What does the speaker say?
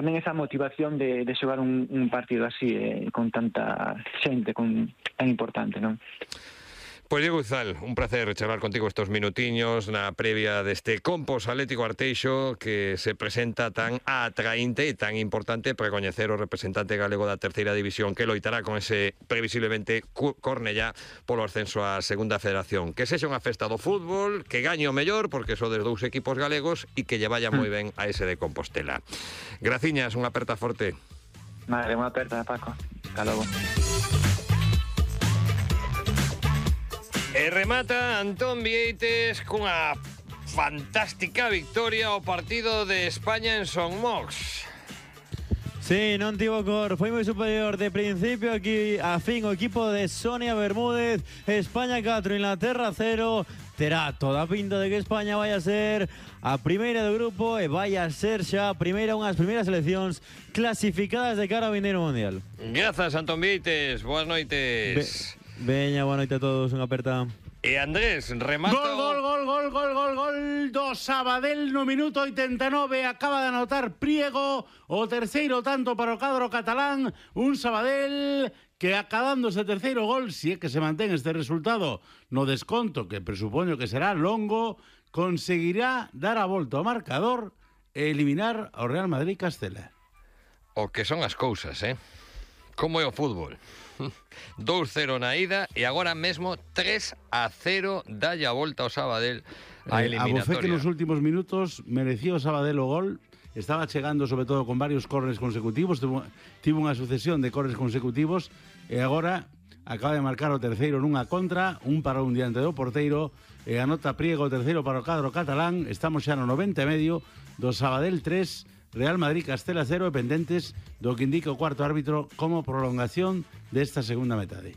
tamén esa motivación de xogar un partido así, con tanta xente, tan importante, non? Pois Diego Uzal, un placer charlar contigo estos minutiños na previa deste Compos Atlético Arteixo que se presenta tan atraínte e tan importante para coñecer o representante galego da terceira división que loitará con ese previsiblemente Cornellá polo ascenso á segunda federación. Que sexa unha festa do fútbol, que gañe o mellor porque son de 2 equipos galegos e que lle vaya moi ben a ese de Compostela. Graciñas, unha aperta forte. Vale, unha aperta, Paco. Hasta logo. E remata Antón Vieites cunha fantástica victoria ao partido de España en Son Mox. Sí, non tivo cor, foi moi superior de principio aquí a fin o equipo de Sonia Bermúdez. España 4, Inglaterra 0. Terá toda a pinta de que España vai a ser a primeira do grupo e vai a ser xa unhas primeiras seleccións clasificadas de cara ao vindeiro mundial. Grazas, Antón Vieites, boas noites. Veña, boa noite a todos, unha aperta. E Andrés, remata... Gol do Sabadell no minuto 89. Acaba de anotar Priego o terceiro tanto para o cadro catalán. Un Sabadell que acabando ese terceiro gol, si é que se mantén este resultado no desconto, que presupoño que será longo, conseguirá dar a volta ao marcador e eliminar ao Real Madrid Castela. O que son as cousas, Como é o fútbol? 2-0 na ida e agora mesmo 3-0 dalle a volta ao Sabadell a eliminatoria. A Bofé que nos últimos minutos merecía o Sabadell o gol. Estaba chegando sobre todo con varios corners consecutivos, tivo unha sucesión de corners consecutivos e agora acaba de marcar o terceiro nunha contra, un para un diante do porteiro e anota Priego o terceiro para o cadro catalán. Estamos xa no 90 e medio do Sabadell 3, Real Madrid Castela 0 e pendentes do que indica o cuarto árbitro como prolongación desta segunda metade.